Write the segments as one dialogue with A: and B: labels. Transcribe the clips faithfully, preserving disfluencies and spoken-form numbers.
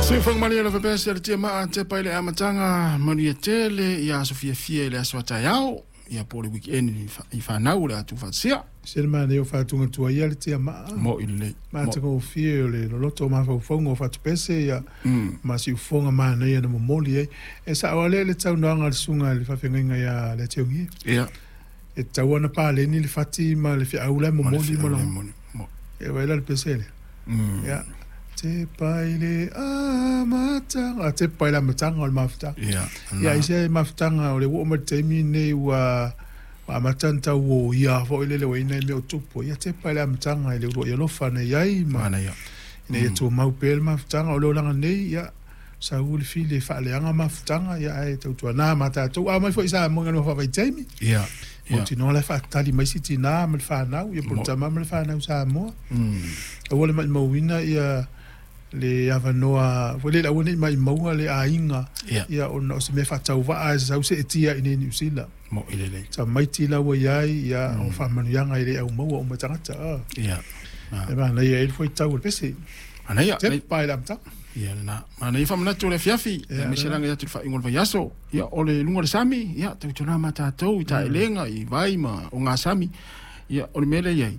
A: Soifuaga lava pea se le tiamaa tepa i le amataga manuia tele ia aso fiafia i le aso a taeao ia po o le weekend i fanau o le a tuufaatasia.
B: Se le manaia o faatugatuai ia le tiamaa.
A: Mo'i lelei.
B: Matagofie o le loloto o mafaufauga o fatupese ia ma siufofoga manaia na momoli ai. E sa'o lava lea i le saunoaga a le susuga i le faafeagaiga ia Leationgie.
A: Ia.
B: E tatau ona paleni le fati ma le feau la e momoli ma lona. E vaai la le pese lea. Ia. Tepa i le amataga, tepa i le amataga o le mafutaga.
A: Ia.
B: Ia ai se mafutaga o le ua oo mai i le taimi lenei ua amata ona tau oia foi lele ua i ai nai mea o tupu. Ia tepa i le amataga i le uluai alofa na i ai ma ina ia tumau pea le mafutaga. O le olaga nei, ia sau le fili e faaleaga mafutaga, ia ae tautuana ma tatou. A omai foi i Samoa i galuega faavaitaimi,
A: Ia.
B: mautinoa la e faatali mai si tinā ma le fanau, ia po o le tama ma le fanau Samoa. Aua le maimauina ia le avanoa foi lele, aua ne i maimaua le aiga, ia ona o se mea faatauvaa e sau seetia i inei i Niu Sila.
A: Mo'i lelei.
B: Tamaiti la ua i ai, ia o faamanuiaga e le aumaua uma e tagata.
A: Ia.
B: E manaia ai le fuaitau o le pese.
A: Manaia.
B: Tepa i le amataga.
A: Ia lena. Manaia faamanatu o le afiafi, aemaise le agai atu i le faaiuga o le vaiaso. Ia, o le luga o le sami, ia, tautuana ma tatou i taelega, i vai ma ogasami. Ia, o le mea lea e i ai,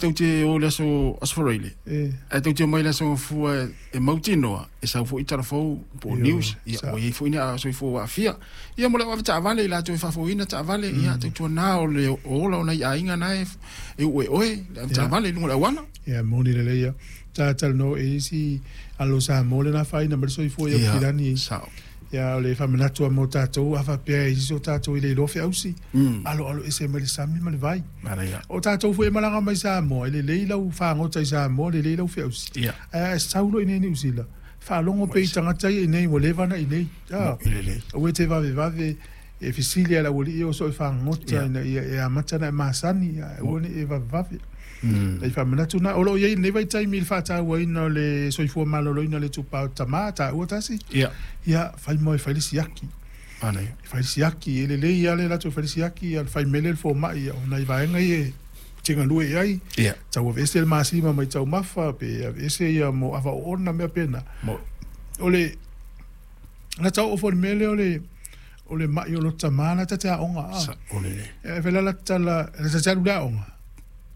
A: tou te o i le aso aso Faraile, ae tou te omai i le aso Gafua e mautinoa, e sau foi tala fou po o news, ia, ua i ai foi ni soifua ua aafia. Ia, mo le au avetaavale, i latou e faafoeina taavale, ia, tautuana o le ola o nai aiga na e uu e oe le avetaavale i luga o le auala.
B: Ia, moni lelei ia. Sa talanoa i isi alo Samoa le na afaina mai le soifua i Aukilani.
A: Ia, sao.
B: Ia, o le faamanatu lava mo tatou, a faapea e i ai se o tatou e le iloa feausi, aloalo ese mai le sami ma le vai. O tatou foi e malaga mai Samoa, e lelei lau fagota i Samoa, lelei lau feausi. Ae a e sau loa i inei i Niu Sila, faalogo pea i tagata ia i inei ua leva ona i inei. Aua e te vavevave e fesili lava i le aualii ia o soo e fagota ina ia e amata ona e masani, ae aua ne i e vavevave. Nai faamanatu na, o lo o i ai i lenei vaitaimi i le faatauaina o le soifua maloloina o le itupa o tama, taua tasi, ia fai moe fai le siaki. Fai le siaki, e lelei lava le latou fai le siaki, ia le fai mele le fomai, o nai vaega ia e te galue i ai, tau aveese le masima mai taumafa, pe aveese ia mo ava oona mea pena. O le lata oo foi i le mea lea o le o le mai o lo tama la ta te aoga a. E fai la la tala, la ta te alu i le aoga.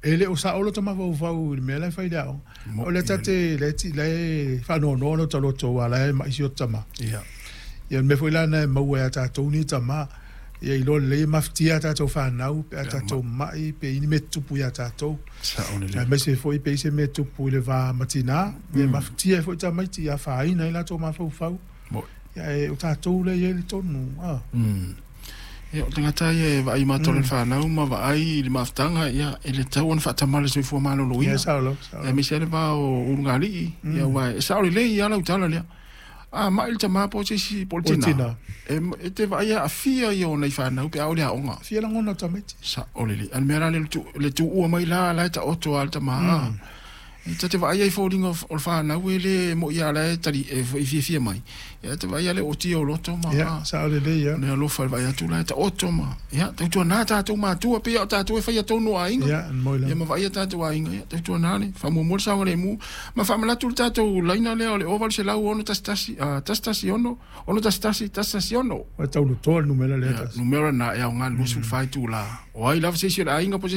B: E le o sao lota mafaufau i le mea la e fai i le aoga. O lea ta te, la e, la e faanoanoa lota loto aua la e mai si ota tama.
A: Ia.
B: Ia, o le mea foi la lena e maua ia tatou nei tama, ia iloa lelei e mafatia a tatou fanau pe a tatou mai pe i ni mea tutupu ia tatou.
A: Sao lelei.
B: Aemaise foi pe i se mea tupu i le va ma tinā, ia e mafatia ai foi tamaiti ia afaina ai latou mafaufau. Ia, ae o tatou lea e i ai le tonu. A.
A: Ia, o tagata ia e vaai matou i le fanau ma vaai i le mafutaga, ia, e le tatau ona faatamala i le soifua maloloina.
B: Ia, sao lava, sao lava.
A: Aemaise lava le va o ulugalii, ia, aua e sao lelei lava lau tala lea. A mai le tama po o se isi po o le tina, e, e te vaai e aafia ia o nai fanau pe a oo i le aoga.
B: Fia lagona o tamaiti.
A: Sao lelei. A o le mea la lea, le tuua mai la, la e taoto lava le tama. E ta te vaai ai i foliga o le fanau e le mo'i a la e tali e fiafia mai. Ia te vaai a le ootia o loto ma
B: Ia, sao lelei ia.
A: Le alofa i le vaai atu la e taoto ma ia tautuana tatou matua pei a o tatou e faia tonu o aiga.
B: Ia, moi lava.
A: Ia ma vaai a tatou aiga ia tautuana le faamuamua le saogalemu ma faamanatu le tatou laina lea o le o valu selau ono tasi tasi tasi tasi ono ono tasi tasi tasi tasi ono.
B: Ua tau lotoa le numera lea
A: tasi. Numera na e aoga i le luasefulu fa itula. O ai lava se isi o le aiga po o se